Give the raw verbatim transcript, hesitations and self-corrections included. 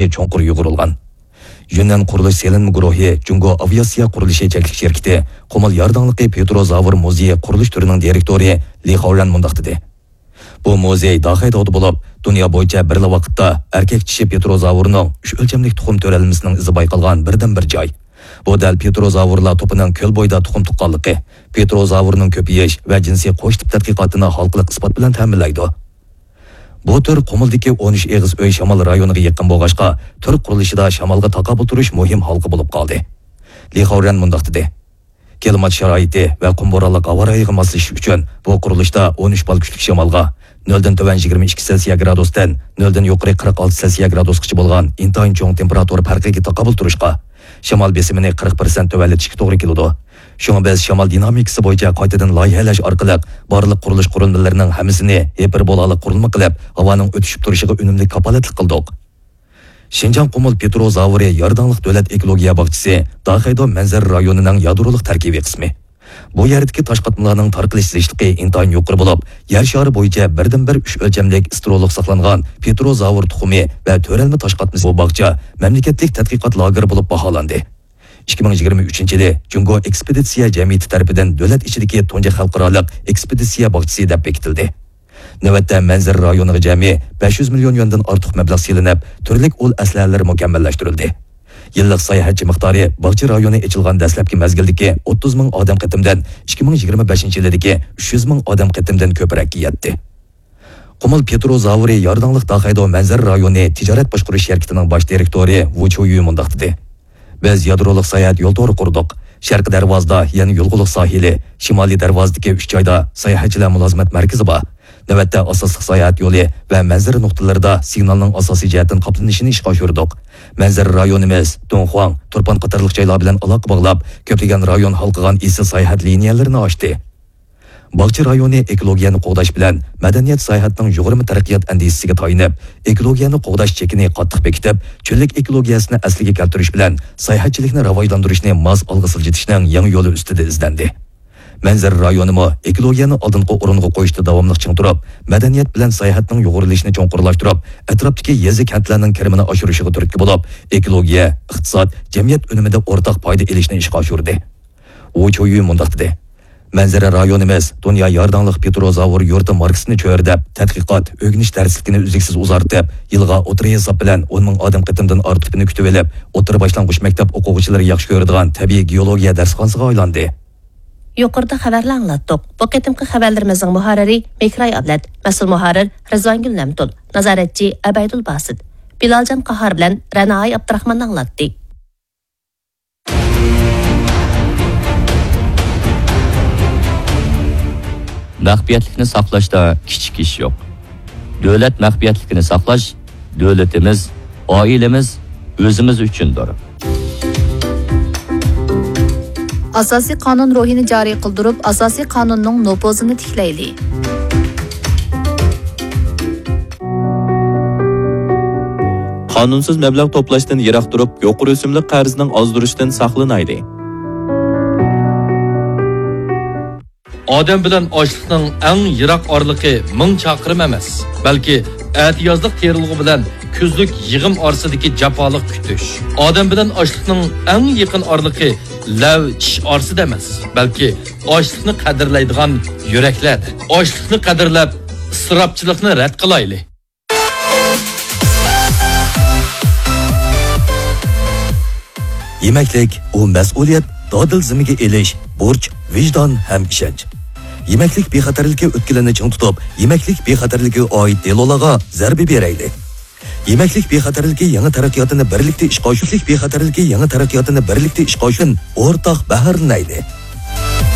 چوڭقۇر يۇغۇرۇلغان. يۈننەن قۇرۇلۇش سېلىنما گۇرۇھى جۇڭگو ئاۋىئاتسىيە قۇرۇلۇشى چەكلىك شىركىتى قۇمۇل يارداڭلىقى پېتروزاۋر مۇزېيى قۇرۇلۇش تۈرىنىڭ دىرېكتورى لى خاۋرەن مۇنداق دېدى: بۇ مۇزېي داخەيداۋدا بولۇپ، دۇنيا بويىچە بىرلا ۋاقىتتا ئەركەك چىشى پېتروزاۋرنىڭ ئۈچ ئۆلچەملىك تۇخۇم تۆرەلمىسىنىڭ ئىزى بايقالغان بىردىنبىر جاي. بۇ دەل پېتروزاۋرلار توپىنىڭ كۆل بويىدا تۇخۇم تۇغقانلىقى، پېتروزاۋرنىڭ كۆپىيىش ۋە جىنسىي قوش تىپ تەتقىقاتىنى ھالقىلىق ئىسپات بىلەن تەمىنلەيدۇ. بۇ تۈر قۇمۇلدىكى ئون ئۈچ ئېغىز ئۆي شامال رايونىغا يېقىن بولغاچقا، تۈر قۇرۇلۇشىدا شامالغا تاقابىل تۇرۇش مۇھىم ھالقا بولۇپ قالدى. لى خاۋرەن مۇنداق دېدى: كىلىمات شارائىتى ۋە قۇم بورانلىق ھاۋا رايىغا ماسلىشىش ئۈچۈن بۇ قۇرۇلۇشتا ئون ئۈچ بال كۈچلۈك شامالغا، نۆلدىن تۆۋەن يىگىرمە ئىككى سېلسىيە گرادۇستىن نۆلدىن يۇقىرى قىرىق ئالتە سېلسىيە گرادۇسقىچە بولغان ئىنتايىن چوڭ تېمپېراتۇرا پەرقىگە تاقابىل تۇرۇشقا، شامال بېسىمىنى قىرىق پىرسەنت تۆۋەنلىتىشكە توغرا كېلىدۇ. شۇڭا بىز شامال دىنامىكىسى بويىچە قايتىدىن لايىھەلەش ئارقىلىق بارلىق قۇرۇلۇش قۇرۇلمىلىرىنىڭ ھەممىسىنى ھىپېربولالىق قۇرۇلما قىلىپ، ھاۋانىڭ ئۆتۈشۈپ تۇرۇشىغا ئۈنۈملۈك كاپالەتلىك قىلدۇق. شىنجاڭ قۇمۇل پېتروزاۋرى يارداڭلىق دۆلەت ئېكولوگىيە باغچىسى داخەيدو مەنزىرە رايونىنىڭ يادرولۇق تەركىبىي قىسمى. بۇ يەردىكى تاش قاتمىلارنىڭ تارقىلىش زىچلىقى ئىنتايىن يۇقىرى بولۇپ، يەر شارى بويىچە بىردىنبىر ئۈچ ئۆلچەملىك ستېرېئولۇق ساقلانغان پېتروزاۋر تۇخۇمى ۋە تۆرەلمە تاش قاتمىسى. بۇ باغچە مەملىكەتلىك تەتقىقات لاگېرى بولۇپ باھالاندى. ئىككى مىڭ يىگىرمە ئۈچىنچى يىلى جۇڭگو ئېكسپېدىتسىيە جەمئىيىتى تەرىپىدىن دۆلەت ئىچىدىكى تۇنجى خەلقئارالىق ئېكسپېدىتسىيە باغچىسى دەپ بېكىتىلدى. نۆۋەتتە مەنزىرە رايونىغا جەمئىي بەش يۈز مىليون يۈەندىن ئارتۇق مەبلەغ سېلىنىپ، تۈرلۈك ئۇل ئەسلىھەلەر مۇكەممەللەشتۈرۈلدى. يىللىق ساياھەتچى مىقدارى باغچە رايونى ئېچىلغان دەسلەپكى مەزگىلدىكى ئوتتۇز مىڭ ئادەم قېتىمدىن ئىككى مىڭ يىگىرمە بەشىنچى يىلىدىكى ئۈچ يۈز مىڭ ئادەم قېتىمدىن كۆپرەككە يەتتى. قۇمۇل پېتروزاۋرى يارداڭلىق داخەيدو مەنزىرە رايونى تىجارەت باشقۇرۇش شىركىتىنىڭ باش دىرېكتورى ۋۇ چيۇيۈ مۇنداق دېدى: بىز يادرولۇق ساياھەت يول تورى قۇردۇق. شەرقىي دەرۋازىدا يەنە يۇلغۇلۇق ساھىلى، شىمالىي دەرۋازىدىكى ئۈچ جايدا ساياھەتچىلەر مۇلازىمەت مەركىزى بار. نۆۋەتتە ئاساسلىق ساياھەت يولى ۋە مەنزىرە نۇقتىلىرىدا سىگنالنىڭ ئاساسىي جەھەتتىن قاپلىنىشىنى ئىشقا ئاشۇردۇق. مەنزىرە رايونىمىز دۇڭخۇاڭ، تۇرپان قاتارلىق جايلار بىلەن ئالاقە باغلاپ، كۆپلىگەن رايون ھالقىغان ئېسىل ساياھەت لىنىيەلىرىنى ئاچتى. باغچە رايونى ئېكولوگىيەنى قوغداش بىلەن مەدەنىيەت ساياھەتنىڭ يۇغۇرما تەرەققىيات ئەندىزىسىگە تايىنىپ، ئېكولوگىيەنى قوغداش چېكىنى قاتتىق بېكىتىپ، چۆللۈك ئېكولوگىيەسىنى ئەسلىگە كەلتۈرۈش بىلەن ساياھەتچىلىكنى راۋاجلاندۇرۇشنى ماس ئالغا سىلجىتىشنىڭ يېڭى يولى ئۈستىدە ئىزدەندى. مەنزىرە رايونىمۇ ئېكولوگىيەنى ئالدىنقى ئورۇنغا قويۇشتا داۋاملىق چىڭ تۇرۇپ، مەدەنىيەت بىلەن ساياھەتنىڭ يۇغۇرۇلۇشىنى چوڭقۇرلاشتۇرۇپ، ئەتراپتىكى يېزا، كەنتلەرنىڭ كىرىمىنى ئاشۇرۇشىغا تۈرتكە بولۇپ، ئېكولوگىيە، ئىقتىساد، جەمئىيەت ئۈنۈمىدە ئورتاق پايدا ئېلىشنى ئىشقا ئاشۇردى. ۋۇ چيۇيۈ مۇنداق دېدى: مەنزىرە رايونىمىز دۇنيا يارداڭلىق پېتروزاۋر يۇرتى ماركىسىنى چۆرىدەپ، تەتقىقات، ئۆگىنىش دەرسلىكىنى ئۈزلۈكسىز ئۇزارتىپ، يىلغا ئوتتۇرا ھېساب بىلەن ئون مىڭ ئادەم قېتىمدىن ئارتۇقنى كۈتۈۋېلىپ، ئوتتۇرا باشلانغۇچ مەكتەپ ئوقۇغۇچىلىرى ياخشى كۆرىدىغان تەبىئىي گېئولوگىيە دەرسخانىسىغا ئايلاندى. يۇقىرىدا خەۋەرلەر ئاڭلاتتۇق. بۇ قېتىمقى خەۋەرلىرىمىزنىڭ مۇھەررىرى مېھراي ئابلەت، مەسئۇل مۇھەررىر رىزۋانگۈل نەمتۇل، نازارەتچى ئەبەيدۇل باسىت. بىلالجان قاھار بىلەن رەنائاي ئابدۇراخمان ئاڭلاتتى. مەخپىيەتلىكنى ساقلاشتا كىچىك ئىش يوق. دۆلەت مەخپىيەتلىكىنى ساقلاش دۆلىتىمىز، ئائىلىمىز، ئۆزىمىز ئۈچۈندۇر. ئاساسىي قانۇن روھىنى جارى قىلدۇرۇپ، ئاساسىي قانۇننىڭ نوپۇزىنى تىكلەيلى. قانۇنسىز مەبلەغ توپلاشتىن يىراق تۇرۇپ، يۇقىرى ئۆسۈملۈك قەرزنىڭ ئازدۇرۇشىدىن ساقلىنايلى. ئادەم بىلەن ئاشلىقنىڭ ئەڭ يىراق ئارىلىقى مىڭ چاقىرىم ئەمەس، بەلكى ئەتىيازلىق تېرىلغۇ بىلەن كۈزلۈك يىغىم ئارىسىدىكى جاپالىق كۈتۈش. ئادەم بىلەن ئاشلىقنىڭ ئەڭ يېقىن ئارىلىقى لەۋ چىش ئارىسىدا ئەمەس، بەلكى ئاشلىقنى قەدىرلەيدىغان يۈرەكلەردە. ئاشلىقنى قەدىرلەپ، ئىسراپچىلىقنى رەت قىلايلى. يېمەكلىك، ئۇ مەسئۇلىيەت، دادىل زىممىگە ئېلىش، بۇرچ، ۋىجدان ھەم ئىشەنچ. يېمەكلىك بىخەتەرلىكى ئۆتكىلىنى چىڭ تۇتۇپ، يېمەكلىك بىخەتەرلىكىگە ئائىت دېلولارغا زەربە بېرەيلى. يېمەكلىك بىخەتەرلىكى يېڭى تەرەققىياتىنى بىرلىكتە ئىشقا ئاشۇرۇش، بىخەتەرلىكى يېڭى تەرەققىياتىنى بىرلىكتە ئىشقا ئاشۇرۇش، ئورتاق بەھرىلىنەيلى.